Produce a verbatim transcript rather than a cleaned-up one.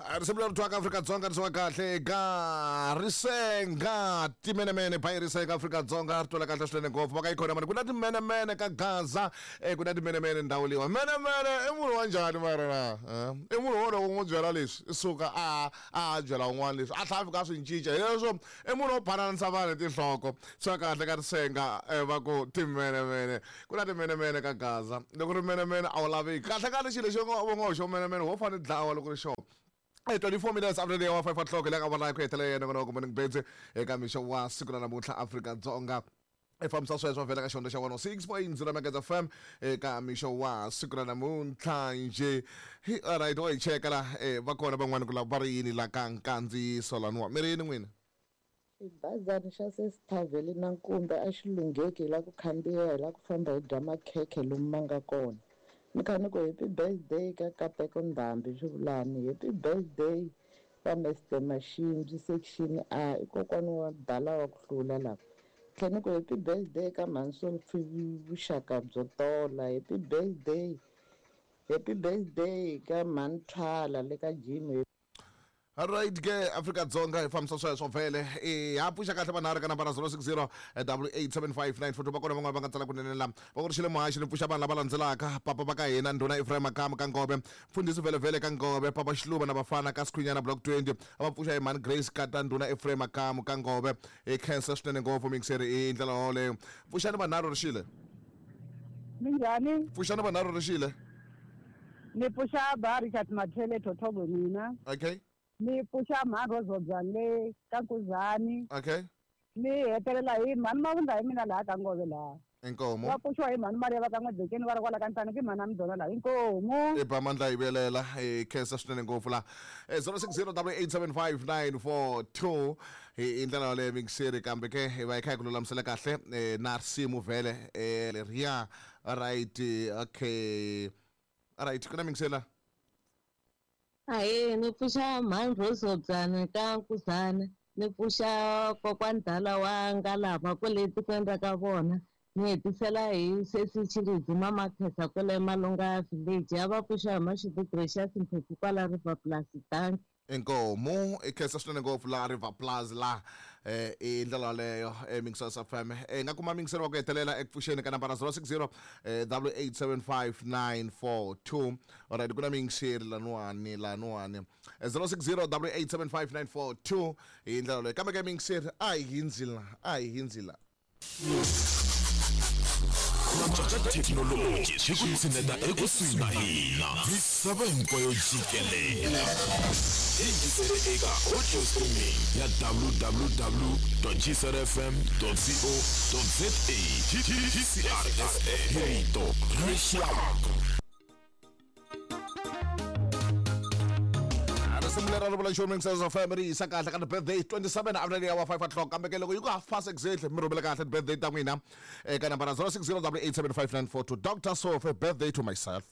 Risimu leri twaka Afrika-Dzonga risiwa kahle ka Risenga Timenemene by Risenga Afrika-Dzonga ri twela kahle swinene ngopfu. Va ka yi khona mani ku na timenemene ka Gaza, eh, ku na timenemene ndhawu leyiwa. Menemene i munhu wa njhani mara na? Eh, i munhu wo loko u n'wi byela leswi i suka a a byela un'wana leswi a tlhela a fika a swi cinca. Hi leswo i munhu wo phananisa vanhu hi tinhloko. Swa kahle ka Risenga, eh, va ku timenemene, ku na timenemene ka Gaza. Loko ri menemene a wu laveki kahle kahle. Xilo lexi va ngo xo menemene wo fanele dlawa loko ri xona. Hey, twenty-four minutes after the hour five o'clock, le ka vona ku hetelela yena kona ku Morning Beds eka mixo wa siku ra namuntlha Afrika-Dzonga. I fambisa sweswo vhela ka xihundla xa one oh six point zero Megahertz F M eka mixo wa siku ra namuntlha nje. Hi, all right, wa hi cheka la, eh, va kona van'wani ku la va ri yini la ka nkandziyiso laniwa. Mi ri yini n'wina? Xibazana xa Sesithavheli na Nkumbe a xi lungheki hi la ku khandziya hi la ku famba hi dya makhekhe lomu ma nga kona. Ni kha ni ku happy birthday ka Kateko Ndhambi swi vulani. Happy birthday ka Mister Mashimbyi section A, i kokwana wa dala wa ku hlula lava. Tlhela ni ku happy birthday ka Mhansopfi vuxaka byo tola. Happy birthday, happy birthday ka Mhani Thwala le ka Jim. All right ke Afrika-Dzonga hi fambisa sweswo vhele. Eh, ha pfuxa kahle vanharhu ka nambara zero six zero double eight seven five nine four two. Va kona van'wana va nga tsala kunene la. Va ku ri xile muhaxi ni pfuxa vanhu lava landzelaka. Papa va ka hina Ndhuna Ephraim Makamu ka Ngobe, Mfundhisi Vele Vele ka Ngobe, Papa Xiluva na vafana ka Sikhunyana Block twenty. A va pfuxa hi Mhani Grace Kata Ndhuna Ephraim Makamu ka Ngobe. Hi khensa swinene ngopfu mixeri hi ndlela yoleyo. Pfuxani vanharhu ri xile. Minjhani? Pfuxani vanharhu ri xile. Ni pfuxa ba Richard Mathele Thothogo mina. Okay. Ni pfuxa Mhani Rozobya le ka Nkuzani. Okay. Ni hetelela hi Mhani Mavundla hi mina laha ka Ngove laha. Inkomo. Va pfuxiwa hi Mhani Maria va ka N'wedzekeni va ri kwala ka Ntani ki Mhani Amdona laha. Inkomo. I ba mandla hi vuyelela. Hi khensa swinene ngopfu laha. Eh, zero six zero double eight seven five nine four two. Hi ndlela yoleyo mixeri kambe ke hi va hi kha hi ku lulamisela kahle, eh, na risimu vhele, eh, leriya. All right, okay. All right, ku na mixela. Ahee, ni pfuxa Mhani Rozobya ka Nkuzana, ni pfuxa kokwani Dala wa Ngalava kwale tikweni ra ka vona, ni hetisela hi sesi Tshilidzi Mama Khetsa kwale Malunga Village, ya va pfuxa hi Mashudu Gracious Mphephu kwala River Plus. Dankie. Inkomo, i khensa swinene ngopfu la River Plus la, eh, i ndlela yoleyo, eh, Mixers F M. Eh, nga kuma mixer wa ku hetelela eku pfuxeni ka nambara zero six zero, eh, double eight seven five nine four two. All right, ku na mixer laniwani, laniwani. Eh, zero six zero double eight seven five nine four two hi ndlela yoleyo. Kambe ke mixer a hi hindzi la, a hi hindzi la. Thekinoloji swi ku tshineta ekusuhi na hina misava hinkwayo jikelele. Yingisele eka audio streaming ya w w w dot g c r f m dot co dot z a. G C R F M, rito ra rixaka. Risimu leri ra vula nchumu Mixers F M ri yisa kahle ka ti-birthday twenty-seven after the hour five o'clock. Kambe ke loko yi ku half past exactly mi rhumela kahle ti-birthday ta n'wina eka nambara zero six zero double eight seven five nine four two. Doctor Sophie, birthday to myself.